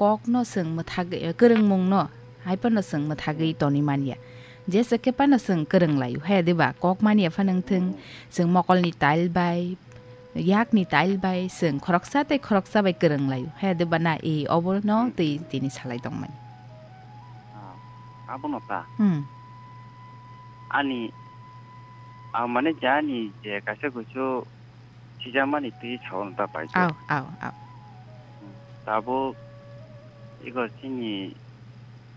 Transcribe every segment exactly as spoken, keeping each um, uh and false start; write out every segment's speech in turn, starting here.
kokno chwng mwthagwi, eh, kwrwngmungno hai phano chwng mwthagwi tonwi man ya. Jesa khe phano chwng kwrwng lai-o, he, diba? Kok man ya phano wng thwng, chwng mokolni tail bai, yakni tail bai, chwng khoroksa tei khoroksa bai kwrwng lai-o, he, diba na? E, obono tei tini salai tongmani. Ah, abono ta. Hmm. Ani, ah, mane je ani je kaisa kusu sijakmani twi sao ta pai. Aw, aw, aw. Tabuk iko chini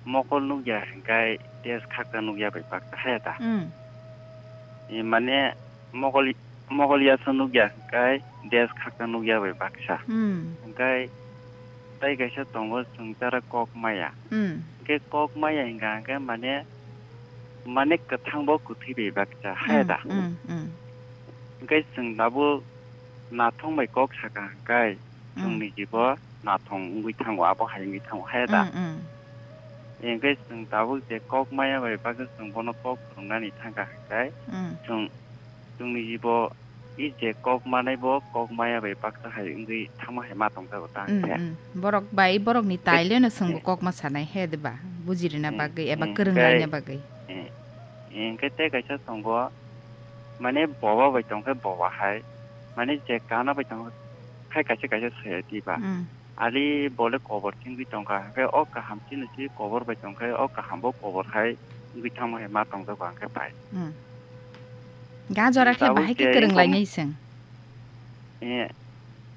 mokol nukya hwnkhe des khakta nukya bai baksa haya ta. Hmm. E, mane mokol, mokol yasa nukya hwnkhe des khakta nukya bai baksa. Hmm. Hwnkhe tai kaisa tongo chwng tara kok maya. Hmm. Hwnkhe kok maya hwnkha hwnkhe mane, mane kwthang bo kwthwi bai baksa haya ta. Hmm, hmm, hmm. Hwnkhe chwng tabuk nathong bai kok saka hwnkhe Hmm. chwngni jibo nathong wngwi thango, abo hai wngwi thango haya ta. Hmm, hmm. Hwnkhe chwng tabuk je kok maya bai baksa chwng bono kok phwrwngnani thangkha hwnkhe Hmm. chwng, chwngni jibo i je kok manai bo kok maya bai baksa hai wngwi thangma hai ma tongjago ta Mm, hwnkhe. Mm. Borok bai borokni taileno chwngbo Eh. Kokma sanai he diba? Bujirina Eh, bagwi eba eh, kwrwng laina bagwi. Eh, eh, hwnkhe tei kaisa tongo, mane boba bai tongkhe boba hai, mane je kana bai tongkhe kaisa kaisa saya diba? Mm. Ali bole kobor chingwi tongkha, hwnkhe o kaham chini si kobor bai tongkhe o kaham bo kobor hai wngwi thangma hai ma tongjago hwnkhe bai. Mm. Ga jora khe tabuk bahai khe je kwrwng wngkha lainai chwng. Eh,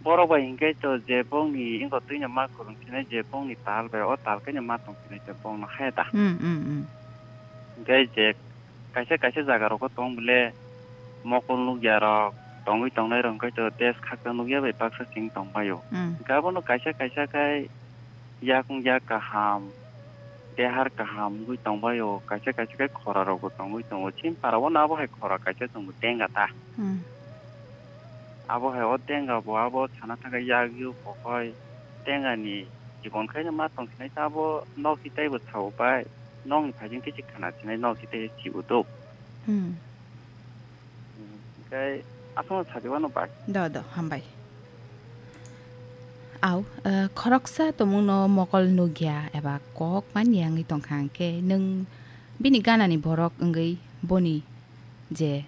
borok bai hwnkhe to je bongni wngkha twino ma kwrwng khinai je bongni tal bai o tal khe no ma tong khinai je bongno haya da. Hmm, hmm, hmm. Hwnkhe je kaisa kaisa jaga rogo tong bole mokol nukya rok tongwi tongnai rok hwnkhe to des khakta nukya bai baksa chwng tong maio. Hmm. Hwnkhe abono kaisa kaisa khai yakung yak kaham, dehar kaham wngwi tongbaio, kaisa kaisa khe khora rokbo tongwi tongo. Chini para o no abo hai khora kaisa chwngbo tenga ta. Hmm. Abo hai o tenga bo abo sana thangkhe yak yuk kokoi tenga ni jibon khaino ma tong sinai ta abo nok si teibo sao bai nokni phaijing tei se khana sinai nok si tei se chibo do. Hmm. Hwnkhe aswkno sadi wano bai. Do, do, hambai. Au, eh, khoroksa tongmungno mokol nukya eba kok manya wngwi tongkha hwnkhe nwng bini ganani borok wngwi boni je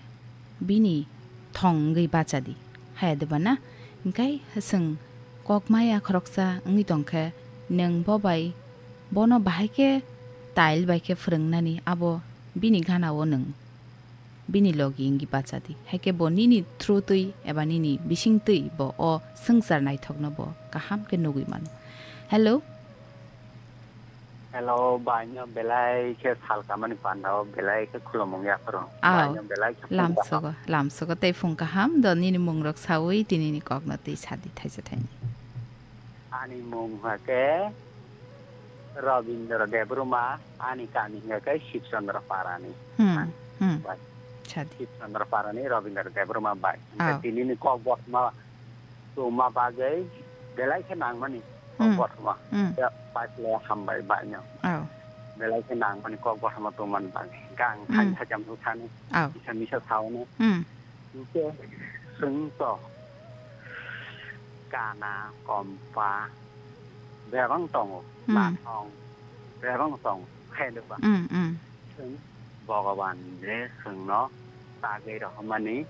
bini thong wngwi bacha di, haya de ba na? Hwnkhe chwng kok maya khoroksa wngwi tongkhe nwng bo bai bono bahai khe tail bai khe phwrwngnani abo bini gana-o nwng. Bini logi wngwi bacha di. Haikhe bo nini through twi eba nini bising twi bo o swngchar naithokno bo kaham khe nugwi mano. Hello? Hello, baino belai khe sal kamani pandao belai khe khulumung yapharo. Aw, baino belai khe lamsogo, lamsogo tei phung kaham do nini mungrok sawi tini ni kokno twi sadi thaisa thaini. Ani mung hwnkhe Robindra Debbarma, ani kami hwnkhe Shibchandra Parani. Hmm, hmm. Bai. Sadi. Shibchandra Parani Robindra Debbarma bai. Hwnkhe aw. Tinini kok botma tongma bagwi belai khe nangmani kok hmm. Botma. Hmm. Ya, bai le hambai baino. Aw. Belai khe nangmani kok botma tongmani bagwi. Gang hmm. Thang thajam thani. Aw. Isa misa saono. Hmm. Hwnkhe chwng to kana, kompa, bebang tongo, hmm. Nathong, bebang tongo, khe deba. Hmm, hmm. Chwng Bhogoban je chwngno tagwi rohormani,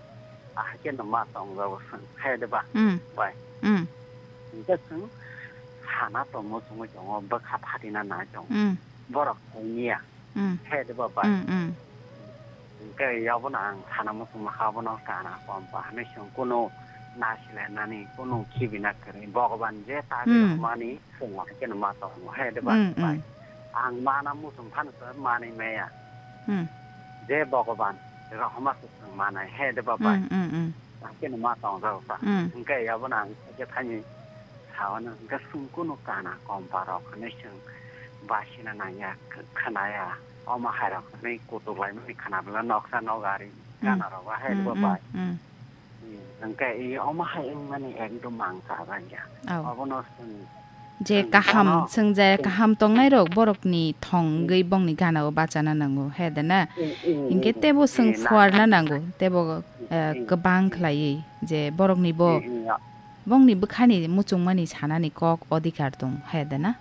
ahai kheno ma tongjago chwng, khe deba. Hmm. Bai. Hmm. Hwnkhe chwng sana tongmo chwngwi tongo, bwkha phatina nai tongo. Hmm. Borok thangya. Mm. Khe de ba bai. Mm, mm. Hwnkhe yabono ang sana muchungma kha, abono kana kompa hinwi chwng kunu nasilai nani, kunu khibina kwrwi. Bhogoban je ta mm. Mani chwng ma khe ma tongo, he de ba mm, bai. Mm. Ang mana muchung phano se manwi maya. Mm. Je Bhogoban rohorma se chwng manai, he de ba bai. Mm, mm, mm. Khe ma tong rok sa. Mm. Hwnkhe yabono ang khe thani sao no, hwnkhe chwng kunu kana kompa rok hinwi chwng basina nangya, kh-, khwnaya. Omo hai rok hinwi kutuk laimani khwna bwla noksa nok ari mm. Gana rok ahai mm, bo mm, bai. Mm. Hwnkhe i omo hai wngmani ekdom mang cha rangya. Oh. Obono chwng je kaham, chwng je kaham tongnai rok borokni thong wngwi bongni gana o bachana nango, he de na? Hwnkhe tebo chwng phuarna nango, tebo, eh, kwbang khlaiwi je borokni bo bongni bwkhani muchungmani sanani kok odhikar tong, he de na?